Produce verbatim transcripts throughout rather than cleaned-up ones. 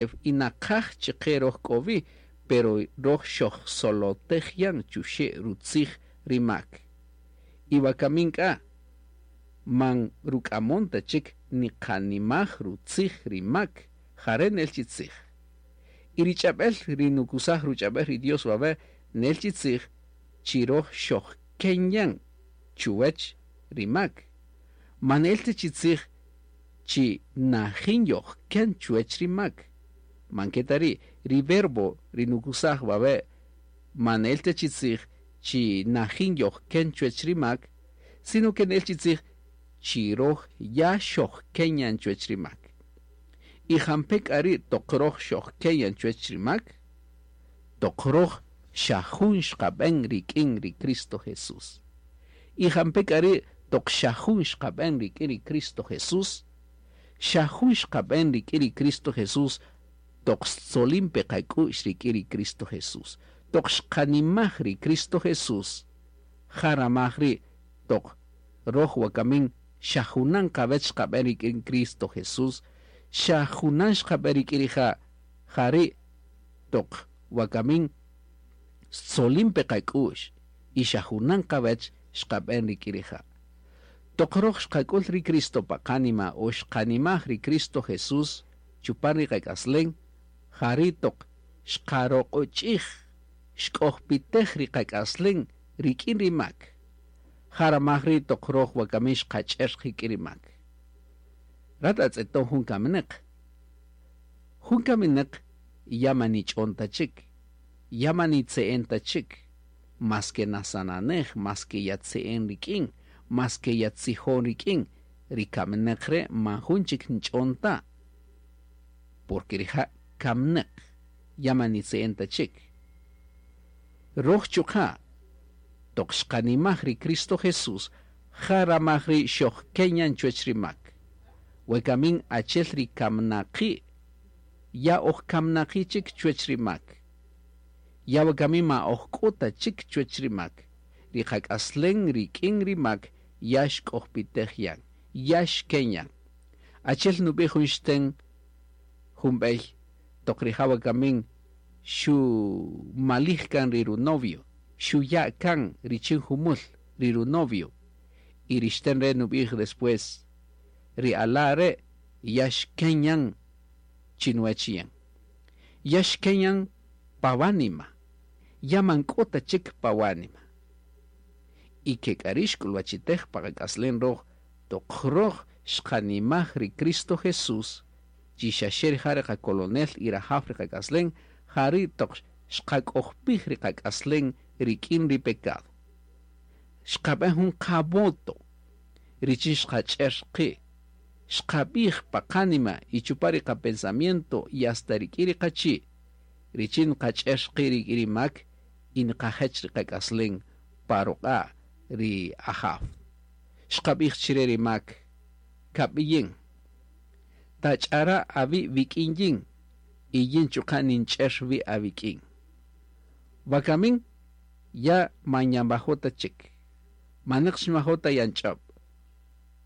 Y naqaj chike roj k'o wi, pero roj xojsolotej yan chuxe' rutzij ri mak. Y wakamin k'a man ruk'amon ta chik niqanimaj rutzij ri mak, jare' nel chi tzij. Y ri ch'ab'el ri nukusaj ruch'ab'el ri Dios wawe' nel chi tzij chi roj xojken yan chuwech ri mak. Man nel ta chi tzij chi najin yojken chuwech ri mak. Man ke ta ri' ri verbo ri nukusaj wawe' man nel ta chi tzij chi najin yojken chuwech ri mak, sino ke nel chi tzij chi roj ya xojken yan chuwech ri mak. Y jampe' k'a ri' toq roj xojken yan chuwech ri mak, toq roj xa jun xqab'en rik'in ri Cristo Jesús. Y jampe' k'a ri' toq xa jun xqab'en rik'in ri Cristo Jesús, xa jun xqab'en rik'in ri Cristo Jesús toq xtzolin pe qak'u'x rik'in ri Cristo Jesús. Toq xqanimaj ri Cristo Jesús, jaramaj ri' toq roj wakamin xa junan qawech xqab'en rik'in Cristo Jesús, xa junan xqab'en rik'in rija', jari' toq wakamin xtzolin pe qak'u'x y xa junan qawech xqab'en rik'in rija'. Toq roj xqak'ul ri Cristo pa qanima o xqanimaj ri Cristo Jesús chupan ri qak'aslen, jari' toq xqaroq'och'ij xk'ojpitej ri qak'aslen rik'in ri mak. Jaramaj ri' toq roj wakamin xqach'er rik'in ri mak. Rat atz'eton jun kamineq. Jun kamineq ya manich'on ta chik, ya manitze'en ta chik, mas ke nasananej, mas ke yatze'en rik'in, mas ke yatzijon rik'in, ri kamineq re' man jun chik nch'on ta. Porque rija' kamineq, ya manitze'en ta chik. Roj chuqa' toq xqanimaj ri Cristo Jesús, jaramaj ri xojken yan chuwech ri mak. Wekamin achel ri kamnaqi', ya oj kamnaqi' chik chuwech ri mak. Ya wakamin ma oj k'o ta chik chuwech ri mak. Ri qak'aslen rik'in ri mak ya xk'ojpitej yan, ya xken yan. Achel nub'ij jun xten jun b'ey toq rija' wakamin xu malij kan ri runovio, xuya' kan richin jumul ri runovio. Y ri xten re' nub'ij después, ri ala' re' ya xken yan chinuwech yan. Ya xken yan pa wanima, ya man k'o ta chik pa wanima. Y ke k'a ri' xk'ulwachitej pa qak'aslen roj, toq roj xqanimaj ri Cristo Jesús, chi xaxe rija' ri qakolonel y rajaw ri qak'aslen, jari' toq xqak'ojpij ri qak'aslen rik'in ri pecado. Xqab'en jun qavoto richin xqach'er qi', xqab'ij pa qanima y chupa ri qapensamiento y hasta rik'in ri qachi', richin qach'er qi' rik'in ri mak y nqajech ri qak'aslen pa ruq'a' ri ajaw. Xqab'ij chire ri mak, kab'iyin, tach'ara' awi' wik'in yin y yin chuqa' ninch'er wi' awik'in. Wakamin ya man yanwajo' ta chik, maneq xinwajo' ta yanch'ob'.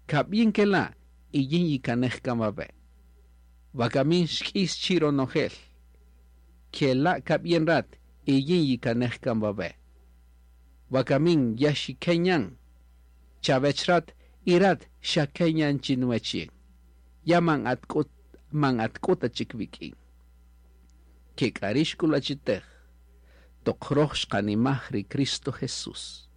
Kab'yin kela' y yin yikanej kan wawe'. Wakamin xk'is chi ronojel, kela' kab'yin rat y yin yikanej kan wawe'. Wakamin ya xiken yan, chawech rat y rat xaken yan chinuwech yin. Ya man atk'o, man atk'o ta chik wik'in. Ke k'a ri' xk'ulwachitej toq roj xqanimaj ri Cristo Jesús.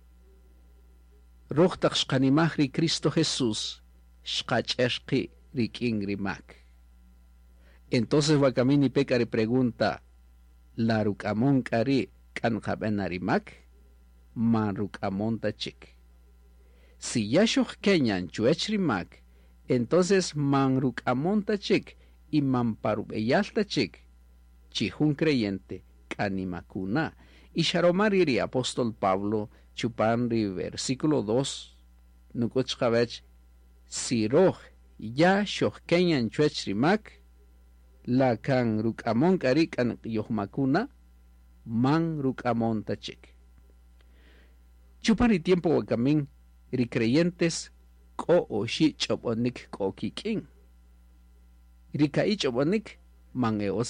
Roj taq xqanimaj ri Cristo Jesús, xqach'er qi' rik'in ri mak. Entonces wakamin nipe k'a ri pregunta, la ruk'amon k'a ri' k'a nqab'en na ri mak? Man ruk'amon ta chik. Si ya xojken yan chuwech ri mak, entonces man ruk'amon ta chik y man pa rub'eyal ta chik, chi jun creyente k'a nimakuna. Y xa roma ri' ri apóstol Pablo chupan ri versículo dos, nuk'ut chiqawech, si roj ya xojken yan chuwech ri mak, la kan ruk'amon k'a ri' k'a yojmakuna, man ruk'amon ta chik. Chupan ri tiempo wakamin, ri creyentes k'o oxi' ch'ob'onik k'o kik'in. Ri ka'i' ch'ob'onik man e utz